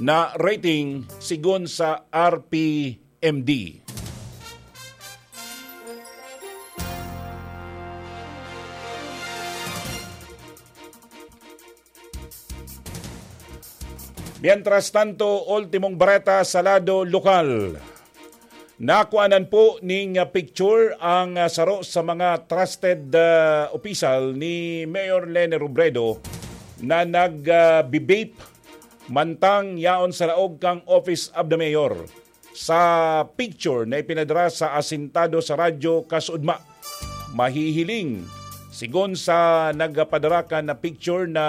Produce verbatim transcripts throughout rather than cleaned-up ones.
na rating sigon sa R P M D. Mientras tanto, ultimong bareta sa lado lokal. Nakuanan po ning, ah, picture ang, ah, saro sa mga trusted, ah, opisyal ni Mayor Leni Robredo na nag, ah, bi-vape mantang yaon sa laog kan Office of the Mayor. Sa picture na ipinadara sa asintado sa radyo kasuodma, mahihiling, sigon sa nagpadara kan picture na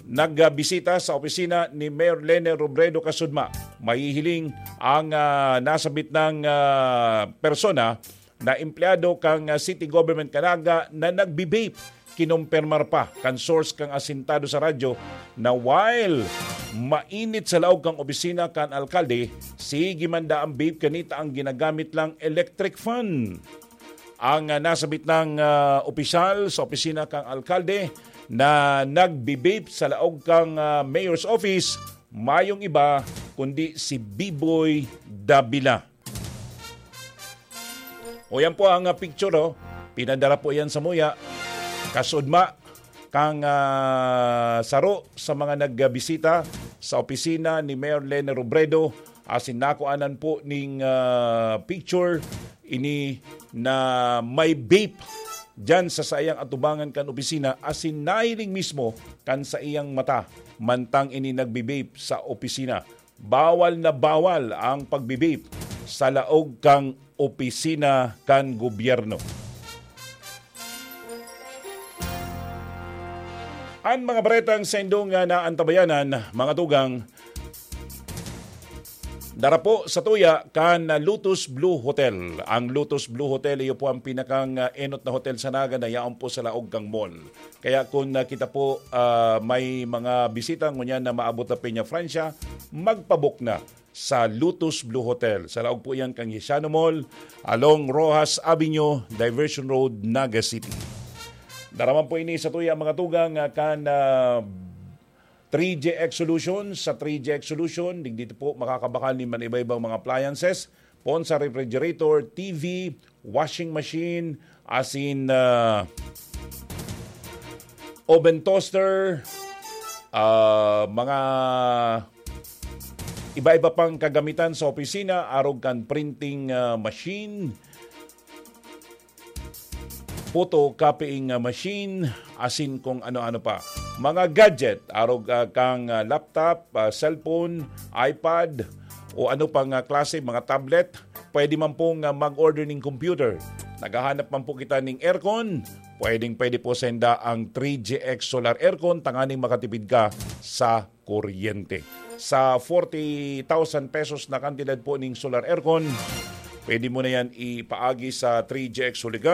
nagbisita sa opisina ni Mayor Leni Robredo kasuodma, mahihiling ang, ah, nasabit nang, ah, persona na empleyado kan, ah, city government kan Naga na nagbi-vape. Kinumpirmar pa kan source kan asintado sa radyo na while mainit sa laog kan opisina kan alkalde, sige man daa ang vape, kanita ang ginagamit lang electric fan. Ang, ah, nasabit nang, ah, opisyal sa opisina kan alkalde na nagbi-vape sa laog kan, ah, mayor's office, mayong iba kundi si Biboy Davila. O, yan po ang, ah, picture, oh. Pinadara po yan sa muya. Kasuodma kan, ah, saro sa mga nagbisita sa opisina ni Mayor Leni Robredo, asin nakuanan po ning, ah, picture ini na may vape diyan sa saiyang atubangan kan opisina, asin nahiling mismo kan saiyang mata mantang ini nagbi-vape sa opisina. Bawal na bawal ang pagbi-vape sa laog kan opisina kan gobyerno. An mga baretang saindong, ah, naantabayanan, mga tugang, dara po sa tuya kan, ah, Lotus Blue Hotel. Ang Lotus Blue Hotel, iyo po ang pinakang, ah, enot na hotel sa Naga na yaon po sa laog kan mall. Kaya kung, ah, kita po, ah, may mga bisita ngunyan na maabot na Peña Francia, magpabook na sa Lotus Blue Hotel. Sa laog po yan kan Hesiano Mall, along Roxas Avenue, Diversion Road, Naga City. Dara man po ini sa tuya, mga tugang, ah, kan, ah, three G X Solution. Sa three G X Solution, digdi po makakabakal nin man iba-ibang mga appliances, poon sa refrigerator, T V, washing machine, asin, ah, oven toaster, ah, mga iba-iba pang kagamitan sa opisina, arog kan printing, ah, machine, photocopying, ah, machine, asin kung ano-ano pa. Mga gadget, arog, ah, kang, ah, laptop, ah, cellphone, iPad, o ano pang, ah, klase, mga tablet, pwede man pong, ah, mag-order ning computer. Naghahanap man po kita ning aircon, pwedeng-pwede po senda ang three G X Solar Aircon, tanganing makatipid ka sa kuryente. Sa forty thousand pesos na kantidad po ning solar aircon, pwede mo na yan ipaagi sa three G X Holigan.